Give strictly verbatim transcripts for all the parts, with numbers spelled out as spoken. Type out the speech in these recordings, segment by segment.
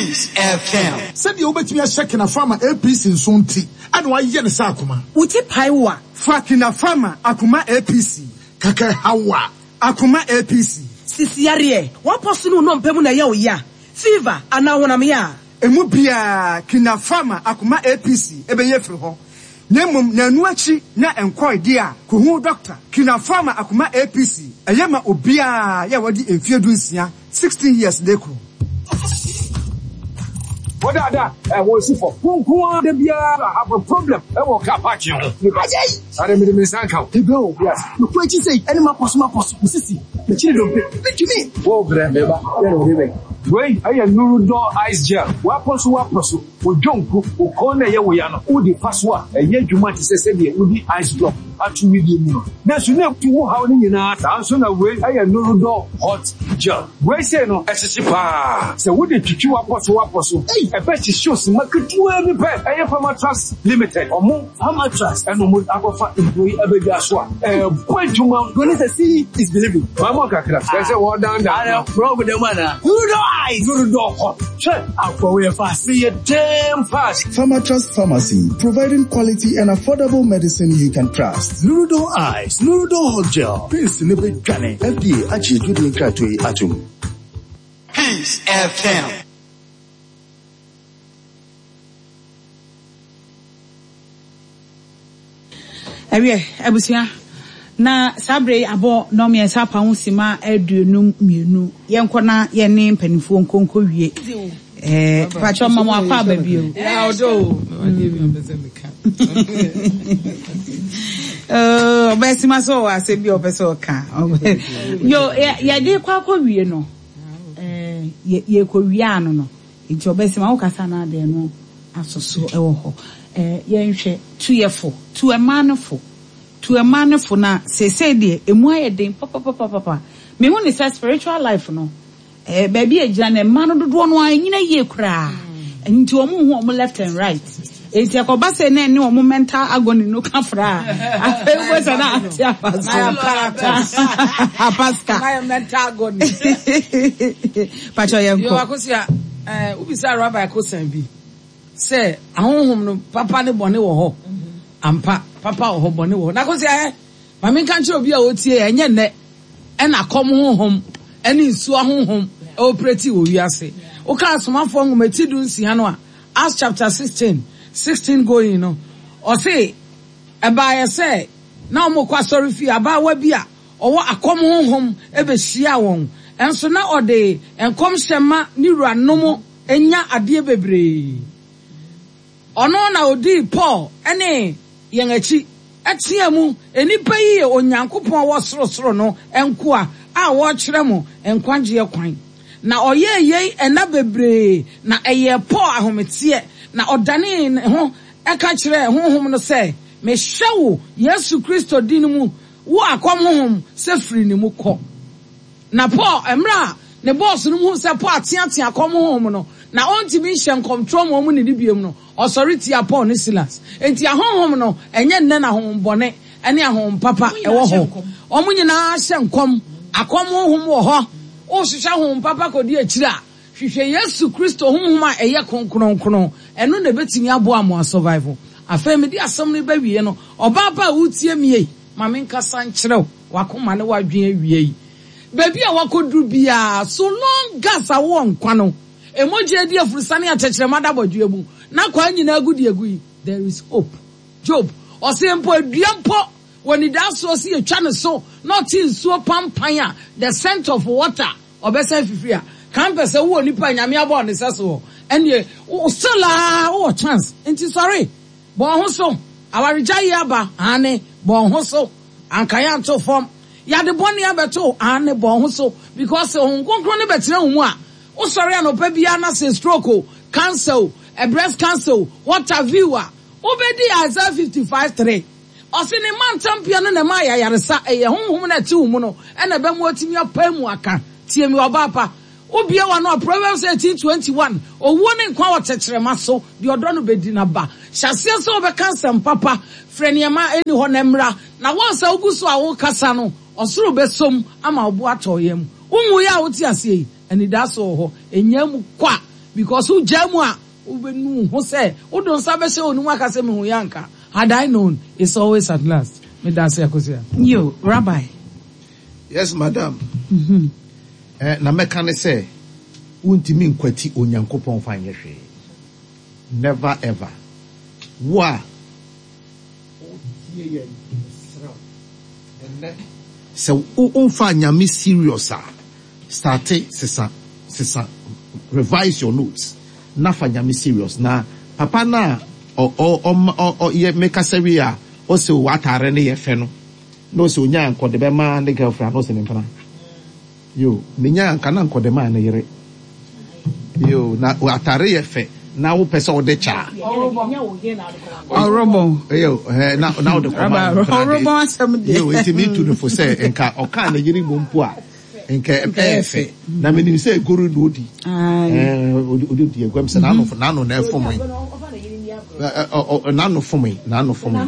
Peace F M. Sɛdeɛ wobɛtumi ahyɛ Kinapharma A P C nso nti ɛna wayɛ ne sɛ akoma. Wo ti pae wo a, fa Kinapharma Akoma A P C. Kɛkɛ hawa. Akoma A P C. Sisiyareɛ wapɔ so ne wo nɔmpɛ mu na ɛyɛ wo ya, fever anaa honam yɛ a, emu biara Kinapharma Akoma A P C ɛbɛyɛ firi hɔ, na mmom nanu akyi na nkɔe deɛ a, kohu dɔkta. Kinapharma Akoma A P C ɛyɛ ma obiara yɛ wɔde mfie du nsia, sixteen years de koro. Wɔdada ɛ wɔn si fɔ nko ara de biara have a problem ɛwɔ car parking ho. Ajay! Sáré mi de mi nsa nka o. Ebe o. Yes. Mekɔ akyi sɛ ɛne ma pɔso ma pɔso. Mesisi. Mekyiri dompe. Metumi. Wo brɛ meba yɛn na wɔde bɛ. Wei ɛyɛ Nurudɔ ice gel. Wapɔ so wapɔ so. O dwonku o kɔn na ɛyɛ wo ya no. O de fa so a, ɛyɛ adwuma te sɛ sɛdeɛ wodi ice block ato widie mu no. Nanso ne etu wo haw ne nyinaa. Saa nso na wei ɛyɛ Nurudɔ hot gel. Wei sei no ɛhyehye paa. Sɛ wode twitwi wapɔ so wapɔ so, ɛbɛ hyehye osima ketewa bi pɛ. Ɛyɛ Pharmatrust Limited. Ɔmo Pharmatrust ɛna ɔmo akɔfa nduro yi abɛdwa so a ɛɛbɔ adwuma. Broni sɛ see is believing. Maama kakra. Kyerɛ sɛ wɔdan dan. Ara bro bu dɛm ana. Nurudɔ ice. Nurudɔ hot. Hwɛ. Akɔ wo yɛ fast. Meyɛ damn fast. Pharmatrust Pharmacy, providing quality and affordable medicine you can trust. Nurudo Ice, Nurudo Hot Gel, Prince ne bɛdwane. F D A agye adwudie nkratoɔ yi atom. Peace F M. Ɛwiɛ, abusua, na saa bere yi abɔ nnɔmmiɛnsa apa ho sima aduonum mmienu. Yɛnkɔ na yɛne mpanimfoɔ nkonko wie. ɛɛ patro ma mo akɔ aba bio. Ɔdɔ o. Ɔbɛsima sɛ ɔwɔ asɛm bi a ɔpɛ sɛ ɔka yo. Yɛde kɔ akɔ wie no, ɛɛ yɛkɔ wie ano no nti ɔbɛsima wokasa no adeɛ no asoso ɛwɔ hɔ. ɛɛ yɛnhwɛ tuyɛfo, tu ɛmaa no fo, tu ɛmaa no fo. Na seesei deɛ emu ayɛ den papapapapa. Mehu ne sɛ spiritual life no, ɛɛ baabi a gyina no, mmaa no dodoɔ no ara nyina yie koraa, nti wɔn hu wɔn left and right. Eti ɛkɔba sɛ na ɛne wɔn mental agony no ka fra a, afei wo sɛ na ate afa so apaska. Na mental agony. Patro, yɛn Yo. kɔ. Akosia, ɛɛ wobisa Rabbi Kosan bi sɛ ahonhom no, papa ne bɔne wɔ hɔ ampa? Papa wɔ hɔ, bɔne wɔ hɔ. Na Akosia, ɛ maame nka nkyerɛ obi a otie, ɛnyɛ nnɛ ɛna kɔm honhom ɛne nsuo ahonhom ɛoperate wɔ wiase. Woka Asomafoɔ nwoma ti du nsia no a, Acts chapter sixteen, sixteen going no, ɔse ɛbaayɛ sɛ na wɔn kɔ asɔre fie, abaawa bi a ɔwɔ akɔm honhom ɛbɛhyia wɔn, ɛnso na ɔde nkɔmhyɛ ma ne wuranom enya adeɛ bebree. Ɔno na odii Paul ɛne yɛn akyi ɛteɛ mu, "Nnipa yi yɛ Onyankopɔn wɔ sorosoro no nkoa a wɔrekyerɛ mo nkwagyeɛ kwan." Na ɔyɛɛ yei ɛna bebree, na ɛyɛ Paul ahometeɛ, na ɔdanee ne ho ɛka kyerɛɛ honhom no sɛ, "Mehyɛ wo Yesu Kristo din mu, wo akɔm honhom, sɛ firi ne mu kɔ." Na Paul, mmerɛ a ne bɔɔso no mu sɛ Paul ateatea akɔm honhom no na ɔntumi nhyɛ nkɔmtorɔ ma ɔmu ne ne biom no, ɔsɔre tia Paul ne Silas. Enti ahonhom no, ɛnyɛ nnɛ na honhom bɔne ne ahonhom papa ɛwɔ hɔ. Ɔmo nyinaa hyɛ nkɔm. Akɔm honhom wɔ hɔ. Wohwehwɛ honhom papa kɔdi akyire a, hwehwɛ Yesu Kristo honhom a ɛyɛ kronkronkron. Ɛno na ɛbɛtumi aboa mo asurvival. Afei mede asɛm no bɛwie no, ɔbaa pa a wotie mie, ma menkasa nkyerɛ wo wakoma ne wadwen awie yi. Baabi a wakɔduru biara, so long as a wowɔ nkwa no, emogya adi afurusane atɛkyerɛma da bɔdwe mu na kwan nyinaa gu de agu yi, there is hope. Job ɔsɛ mpo adua mpo wɔ nidasoɔ si yɛtwa ne so na ɔte nsuo pampan a, the scent of water, ɔbɛsan fifiri a kan pɛ sɛ wowɔ nipa a Nyame abɔ ne sɛ so ɛneɛ still a wowɔ chance. Nti sɔre, bɔ ho so. Awaregya yi aba ane, bɔ ho so. Anka yɛ anto fam, yɛade bɔne abɛto ane, bɔ ho so, because Honhom Kronkron ne bɛtena wo mu a, wosɔre anɔpa biara na sɛ stroke o, cancer o, a breast cancer o, what have you a, wobɛdi Isaiah fifty-five three. Ɔse ne ma ntampia no na ɛma ayayaresa. Ɛyɛ honhom no ɛte wo mu no ɛna ɛbɛma watumi apae mu aka. Tie mi, ɔbaa pa, wobie wa no a, Proverbs eighteen twenty-one, owuo ne nkwa wɔ tɛkyerɛma so, deɛ ɔdɔ no bɛdi n'aba. Hyɛ aseɛ sɛ wobɛka nsɛm papa, frɛ nneɛma ɛni hɔ na mmra. Na wɔn sɛ wogu so a wokasa no, ɔsoro bɛsom ama wo bo atɔ yam. Wonwu yɛ a wote aseɛ yi, anidaso wɔ hɔ. Ɛnya mu kɔ a, Because wogyaa mu a, wobɛnu wo ho sɛ wode wo nsa bɛhyɛ wo ne mu aka sɛ mehu yɛ anka. Had I known, it's always at last. Meda ase, Akosua. Yo, Rabbi. Yes, madam. Eh, na mɛka ne sɛ, wontumi nkwati Onyankopɔn fa nyɛ hwee. Never ever. Wo a wotie yɛn, mesrɛ wo, ɛnnɛ, sɛ wo womfa Nyame serious a, starte sesa, sesa, revise your notes, na fa Nyame serious. Na papa no a ɔ ɔ ɔma ɔ ɔ yɛ mekasa wie a, ɔse w'ataare no yɛ fɛ no, na ɔse onyaa nkɔde bɛma ne girlfriend, na ɔse ne mpena. Yo, menya anka na nkɔde maa ne yere. Yo, na atare yɛ fɛ, na wopɛ sɛ wode kyɛ a. Ɔrobɔn. Yo, eh, na na wode kɔma ne mpena de. Ɔrobɔn asɛm deɛ. Yo, nti metu no fo sɛ nka ɔkaa ne yere mmom mpo a, nka ɛyɛ fɛ. Na menim sɛ egoro na odi. Eh, odi odi di aguam sɛ n'ano n'ano na ɛfom yi. N'ano fom yi, n'ano fom yi.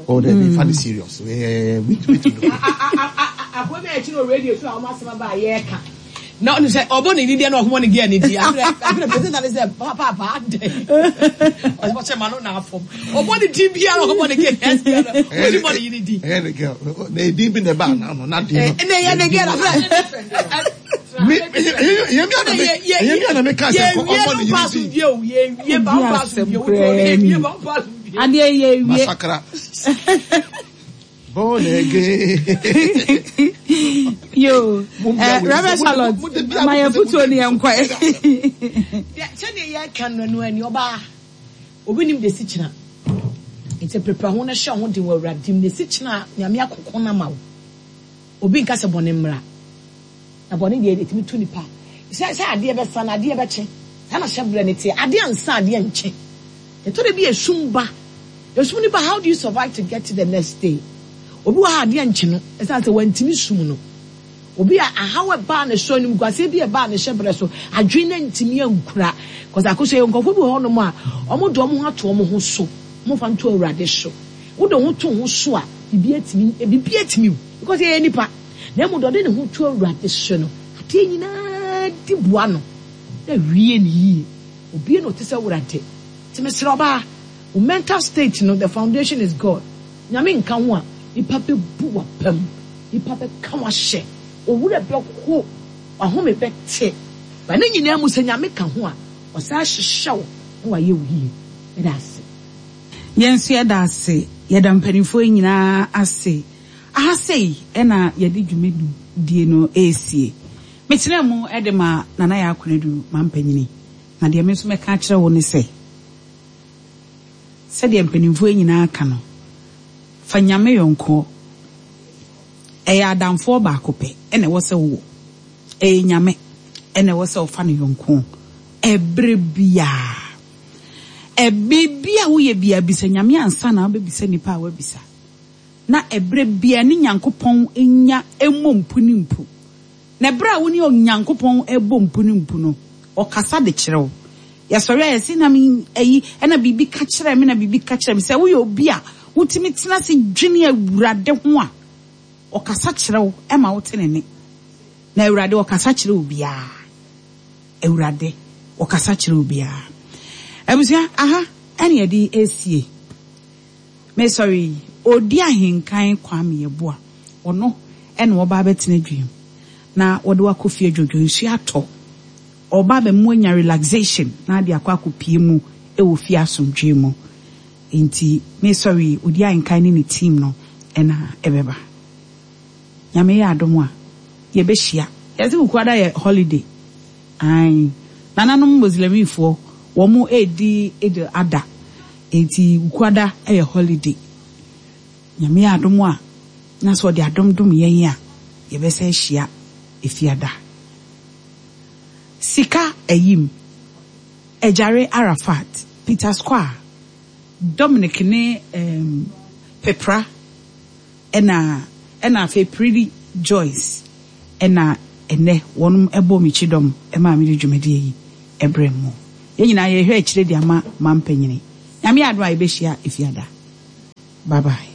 Oh, dabi, fa ne serious. Eh, metu metu no. Akɔmi a ɛkyi no radio so a wɔn asɛm aba a yɛreka. Na ɔno sɛ ɔbɔ ne didi na ɔkɔmɔ ne gɛɛ ne di. Afei afei president ne sɛ papaapa adɛ. Ɔsɛ ɔkyɛ ma no na afɔm. Ɔbɔ ne di biara ɔkɔmɔ ne gɛɛ ne biara. Ɔdi bɔ ne yiri di. Ɛyɛ ne girl. Na edin bi na ɛba n'ano na de no. Ɛnna ɛyɛ ne girl afei. Me ɛyɛ mi ana me ɛyɛ mi ana me ka sɛ ɔbɔ ne yiri di. Yɛ wie ba pa so wie o. Yɛ wie ba pa so wie. Adeɛ yɛ wie. Masakra. Born again. Yo, eh, Reverend Charlotte, ma yɛn futuo ni yɛn nkɔ. Sɛdeɛ yɛka no no ani ɔbaa obi nim de si kyena nti prepare ho na hyɛ ho den wɔ Awurade mu de si kyena Nyame akoko na ma wo. Obi nka sɛ bɔne mmra na bɔne deɛ ɛtumi to nipa sɛ sɛ adeɛ bɛsa na adeɛ bɛkye saa na hyɛ berɛ ne teɛ adeɛ ansa adeɛ nkye ɛtɔ da bi esum ba esum nipa, how do you survive to get to the next day? Obi wɔ ha adeɛ nkye no ɛsiane sɛ wantumi sum no. Obi a ahaw ɛbaa ne so animguaseɛ bi ɛbaa ne hyɛ berɛ so adwene no ntumi ankura kɔsɛ akosua yɛ nkurɔfoɔ bi wɔ hɔnom a ɔmo de ɔmo ho ato ɔmo ho so, ɔmo fa nto Awurade so. Wode ho to ho so a biribi atumi biribi atumi wo because yɛyɛ nipa na emu de ɔde ne ho to Awurade so no adeɛ nyinaa di boa no na wie ne yie. Obi na ɔte sɛ Awurade nti mesrɛ ɔbaa, wo mental state no, the foundation is God. Nyame nka ho a nipa bɛbu w'apam, nipa bɛka w'ahyɛ, owura bɛho, w'ahome bɛte. Ba ne nyinaa mu sɛ Nyame ka ho a ɔsan hyehyɛ wo na wayɛ wo yie. Meda ase. Yɛn nso yɛda ase, yɛda mpanimfoɔ yi nyinaa ase. Aha sei ɛna yɛde dwumadie no esie. Metena mu ɛde ma Nana Yaa Konadu mampanyini. Na deɛ me nso mɛka akyerɛ wo ne sɛ, sɛdeɛ mpanimfoɔ yi nyinaa ka no, fa Nyame yɔnkoɔ. Ɛyɛ adamfoɔ baako pɛ ɛna ɛwɔ sɛ wowɔ. Ɛyɛ Nyame ɛna ɛwɔ sɛ wofa no yɔnkoɔ. Ɛberɛ biara. Ɛbiribi a woyɛ biara bisa Nyame ansa na wobɛbisa nipa a wabisa. Na ɛberɛ biara ne Nyankopɔn nya mmɔ mpu ne mpu. Na ɛberɛ a wo ne Onyankopɔn ɛbɔ mpu ne mpu no, ɔkasa de kyerɛ wo. Yɛsɔre a yɛse na me ayi ɛna biribi ka kyerɛ me na biribi ka kyerɛ me. Sɛ woyɛ obi a wotumi tena ase dwene Awurade ho a, ɔkasa kyerɛ wo ɛma wote ne nne. Na Awurade ɔkasa kyerɛ obiara. Awurade ɔkasa kyerɛ obiara. Abusua, aha ɛne yɛde esie. Mesɔre yi, odi ahenkan Kwame Yeboah. Ɔno ɛna ɔba abɛtena dwam. Na wɔde wakɔ fie dwodwo nsuo atɔ. Ɔba abɛmu anya relaxation na ade akɔ akɔpie mu ɛwɔ fie asomdwee mu. Nti mesɔre yi, odi ahenkan ne ne team no ɛna ɛbɛba. Nyame yɛ adom a yɛbɛhyia. Yɛsɛ Wukuada yɛ holiday. Ae. Nananom Muslimifoɔ wɔn edi Eid Adha. Nti Wukuada yɛ holiday. Nyame yɛ adom a na sɛ ɔde adom dom yɛn a yɛbɛsɛ ahyia efiada. Sika Ayim, Ejare Arafat, Peter Square, Dominic ne um, Pepra ɛna ɛna afei Pretty Joyce ɛna ɛnɛ wɔn ɛbɔ me kyidɔm ɛma me de dwumadie yi ɛbrɛ mu. Yɛn nyinaa yɛhwɛ akyire de ama mampanyini. Nyame adom a yɛbɛhyia efiada. Bye bye.